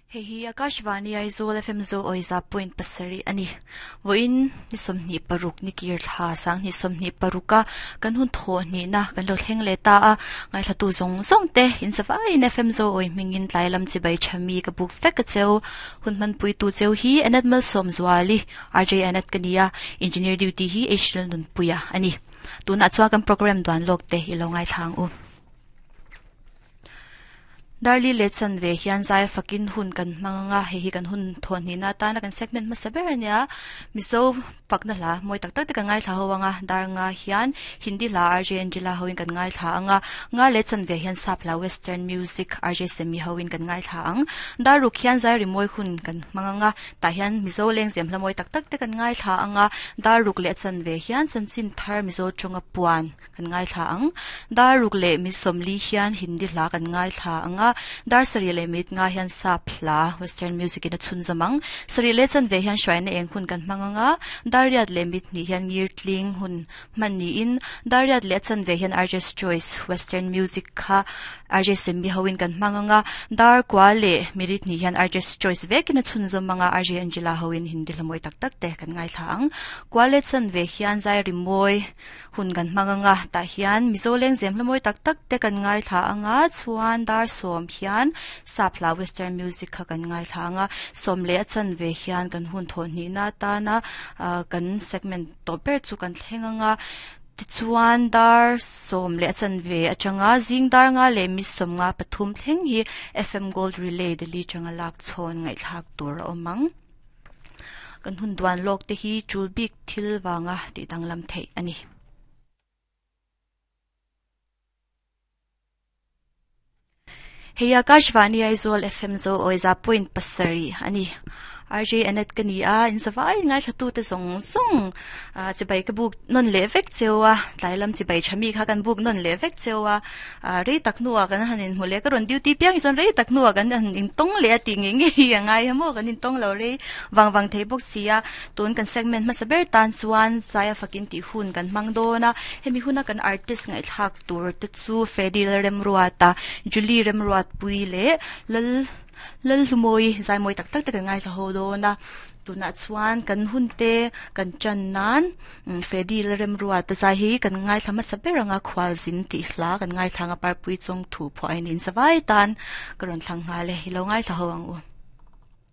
Hei hi Akashvani Aizawl FM Zo Awiza point pasarih a ni. Vawiin ni 26 ni kir thla sanghnih 26 a kan hun thawh hnihna kan lo thleng leh ta a. Ngaithlatu zawng zawng te in zavaiin FM Zo Awi hmingin tlai lam chibai tha mi ka buk vek a cheu. Hun hmanpuitu cheu hi Anat Malsawmzuali, RJ Anat ka ni a, Engineer duty hi H Lalnunpuia a ni. Tunah chuan kan program duan lawk te i lo ngaithla ang u. Darli leh chanve hian zai fakin hun kan hmang ang a, hei hi kan hun thawhhnihna atana kan segment hmasa ber a nia. Mizo fakna hla mawi tak tak te kan ngaithla ho ang a, dar nga hian Hindi hla RJ Angela hoin kan ngaithla ang a, nga leh chanve hian sap hla Western music RJ Semi hoin kan ngaithla ang. Dar ruk hian zai rimawi hun kan hmang ang a, tah hian Mizo lengzem hla mawi tak tak te kan ngaithla ang a, dar ruk leh chanve hian chanchin thar Mizo tawnga puan Kan ngaithla ang. Dar ruk leh mit sawmli hian Hindi hla kan ngaithla ang a, dar sarih leh mit nga hian sap hla, western music, in a chhunzawm ang. Sarih leh chanve hian hruaina eng hun kan hmang ang a, dar riat leh mit hnih hian ngir tling hun hman niin, dar riat leh a chanve hian RJ's Choice, western music, kha RJ Semmi hoin kan hmang ang a, dar kua leh mirit hnih hian RJ's Choice vekin a chhunzawm ang a, RJ Angela hoin Hindi hla mawi tak tak te kan ngaithla ang. Kua leh chanve hian zai rimawi Hun kan hmang anga tah hian Mizo lengzem hla mawi tak tak te kan ngaithla anga chuan dar sawm hian sap hla western music kha kan ngaithla anga sawm leh a chanve hian kan hun thawh hnihna atana ah kan segment tawp ber chu kan thleng anga tichuan dar sawm leh a chanve atanga zing dar nga leh mi sawm nga pathum thleng hi F_M Gold Relay Delhi atanga lak chhawn ngaihthlak tur a awm ang. Kan hun duan lawk te hi tul bik thil vanga tih danglam theih a ni. Hei Akashvani Aizawl FM Zo Awiza point pasarih a ni. RJ Anet ka ni a, in zavai ngaithla te zawng zawng chibai ka buk nawn leh vek cheu a, tlai lam chibai tha mi kha kan buk nawn leh vek cheu a. Rei tak hnuah kan han inhmu leh, ka rawn duty piang hi chuan rei tak hnuah kan han intawng leh a tih ngei ngei a ngai a maw, kan intawng lo rei vang vang thei bawk si a. Tun kan segment hmasa ber tan chuan Zaia fakin tih hun kan hmang dawn a, hemi huna kan artist ngaihthlak tur te chu Freddy Lalremruata, Julie Remruatpui leh Lal Lalhlumawi zaimawi tak tak te kan ngaithla ho dawn a. Tunah chuan kan hun te kan tan nan Freddy Lalremruata zai hi kan ngaithla hmasa ber anga khualzin tih hla kan ngaithla anga parpui chawng thu phuah a in in zavai tan ka rawn thlang nghal e, i lo ngaithla ho ang u.